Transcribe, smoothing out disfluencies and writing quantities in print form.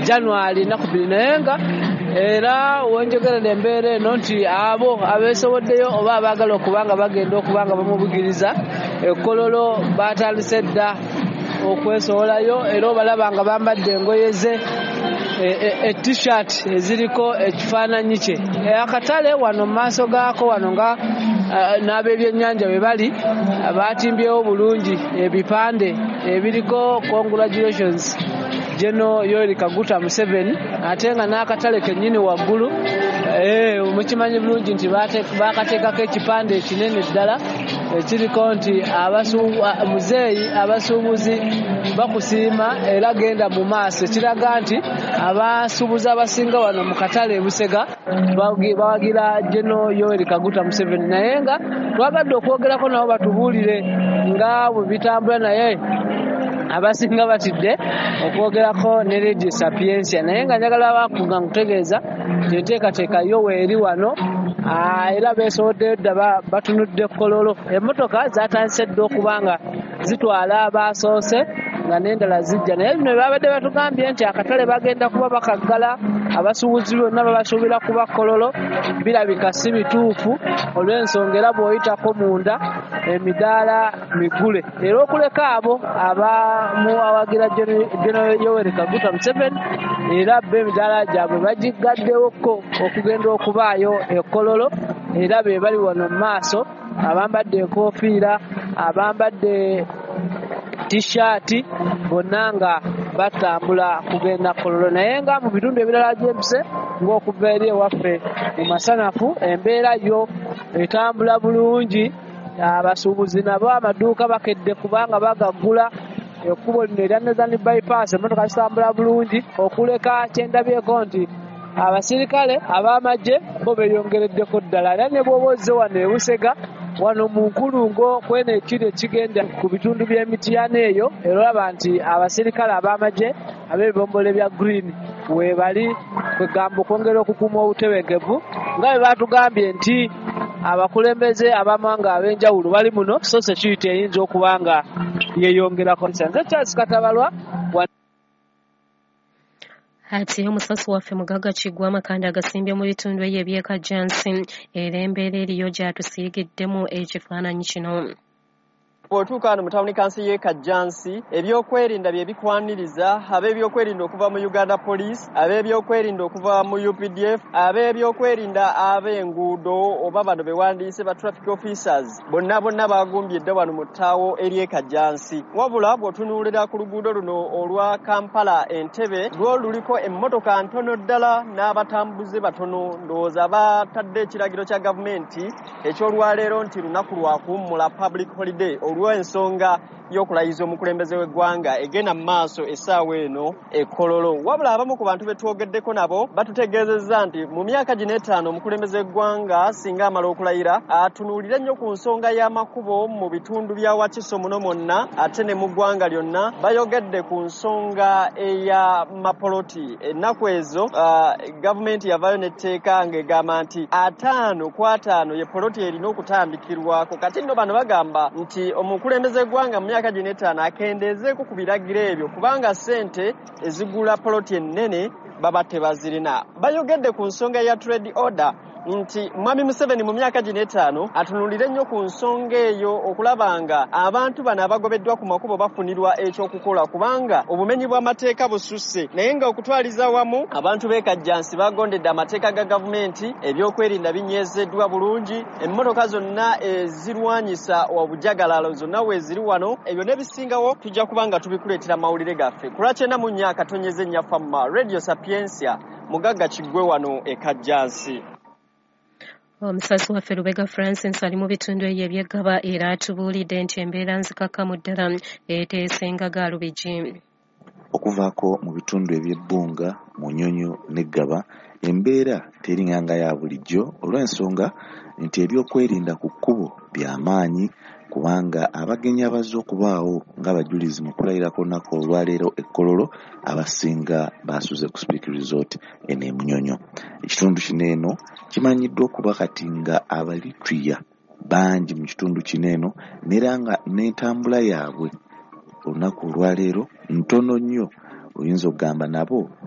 January 2, naye nga era wenjogerera embeera eno nti abo abeesoboddeyo oba abaagala okuba nga bagenda okuba nga bamubugiriza Ekololo batandise dda okwesowolayo, era obalaba nga bambadde engoye ze e t-shirt eziriko ekifaananyi kye. Akatale wano mu maaso gaako wano nga n'ab'ebyennyanja bwe bali batimbyewo bulungi ebipande ebiriko "Congratulations General Yoweri Kaguta Museveni", ate nga n'akatale kennyini waggulu mukimanyi bulungi nti bakateekako ekipande ekinene ddala ekiriko nti "Muzeeyi, abasuubuzi bakusiima era genda mu maaso", ekiraga nti abasuubuzi abasinga wano mu katale e Busega bawagira General Yoweri Kaguta Museveni. Naye nga twagadde okwogerako nabo batubuulire nga bwe bitambula, naye abasinga batidde okwogerako ne Radio Sapientia. Naye nga njagala bakuga nkutegeeza nti enteekateeka yo weeri wano, era beesoboddeyo dda batunudde Kololo. Emmotoka zatandise dda okuba nga zitwala abasoose nga n'endala zijja, naye bino babadde batugambye nti akatale bagenda kuba bakaggala, abasuubuzi bonna babasuubira kuba Kololo, birabika si bituufu olw'ensonga era bw'oyitako munda emidaala migule, era okuleka abo abamuwagira General Yoweri Kaguta Museveni, era bo emidaala gyabwe bagiggaddewokko okugenda okubaayo Ekololo, era be bali wano mu maaso abambadde enkofiira, abambadde t-shirt, bonna nga batambula kugenda Kololo. Naye nga mu bitundu ebirala gyempise ng'okuva eri ewaffe mu Masanafu, embeera yo etambula bulungi, abasuubuzi nabo amaduuka bakedde kubanga bagaggula. Ekkubo lino erya Northern Bypass emmotoka zitambula bulungi, okuleka kyendabyeko nti abasirikale ab'amagye bo beeyongereddeko ddala, era ne bw'oba ozze wano e Busega wano mu nkulungo kweno ekiri ekigenda ku bitundu by'Emitiyana eyo, era olaba nti abasirikale ab'amagye ab'ebibombole bya green weebali, kwegamba okwongera okukuuma obutebenkevu nga bwe baatugambye nti abakulembeze ab'amawanga ab'enjawulo bali muno, so security eyinza okuba nga yeeyongerako. Nze Charles Katabalwa. Ate omusasi waffe Mugagga Kiggwa amakanda agasimbye mu bitundu eyo eby'e Kajjansi, era embeera eriyo gy'atusiigiddemu ekifaananyi kino. Bw'otuuka wano mu tawuni kanso y'e Kajjansi, ebyokwerinda bye bikwaniriza. Ab'ebyokwerinda okuva mu Uganda Police, ab'ebyokwerinda okuva mu UPDF, ab'ebyokwerinda ab'enguudo oba bano bewandiise ba traffic officers, bonna bonna bagumbye dda wano mu ttaawo ery'e Kajjansi. Wabula bw'otunuulira ku luguudo luno olwa Kampala Entebbe, lwo luliko emmotoka ntono ddala n'abatambuze batono. Ndowooza batadde ekiragiro kya gavumenti eky'olwaleero nti lunaku lwa kuwummula, public holiday, olw'ensonga y'okulayiza omukulembeze w'eggwanga egenda mu maaso essaawa eno e Kololo. Wabula abamu ku bantu be twogeddeko nabo batutegeezezza nti mu myaka gino 5 omukulembeze w'eggwanga singa amala okulayira atunuulire nnyo ku nsonga y'amakubo mu bitundu bya Wakiso muno mwonna ate ne mu ggwanga lyonna. Bayogedde ku nsonga eya mapoloti. Ennaku ezo gavumenti yavaayo n'etteeka ng'egamba nti 50 ku 50 ye poloti erina okutandikirwako. Kati nno bano bagamba nti omukulembeze w'eggwanga mu myaka gino 5 akendeezeeko ku biragiro ebyo, kubanga ssente ezigula poloti ennene baba tebazirina. Bayogedde ku nsonga ya trade order nti Mwami Museveni mu myaka gino 5 atunuulire nnyo ku nsonga eyo okulaba nga abantu bano abagobeddwa ku makubo bafunirwa ekyokukola, kubanga obumenyi bw'amateeka bususse. Naye nga okutwaliza wamu abantu b'e Kajjansi bagondedde amateeka ga gavumenti, ebyokwerinda binyezeddwa bulungi, emmotoka zonna ezirwanyisa obujagalalo zonna weeziri wano. Ebyo n'ebisingawo tujja kuba nga tubikuleetera mawulire gaffe ku lwa 94.4 Famma Radio Sapientia. Mugagga Kiggwe wano e Kajjansi. Omusasi waffe Lubega Francis ali mu bitundu eyo eby'Eggaba, era atubuulidde nti embeera nzikakkamu ddala eteesenga gaalubigi. Okuvaako mu bitundu eby'Ebbunga, Munyonyo ne Ggaba, embeera teringanga ya bulijjo olw'ensonga nti ebyokwerinda ku kkubo bya maanyi, kubanga abagenyi abazze okubaawo ng'abajulizi mu kulayira ku lunaku olwaleero e Kololo abasinga basuze ku Speke Resort eno e Munyonyo. Ekitundu kino eno kimanyiddwa okuba kati nga Abalitria bangi mu kitundu kino eno, n'era nga n'entambula yaabwe olunaku olwaleero ntono nnyo, oyinza okugamba nabo.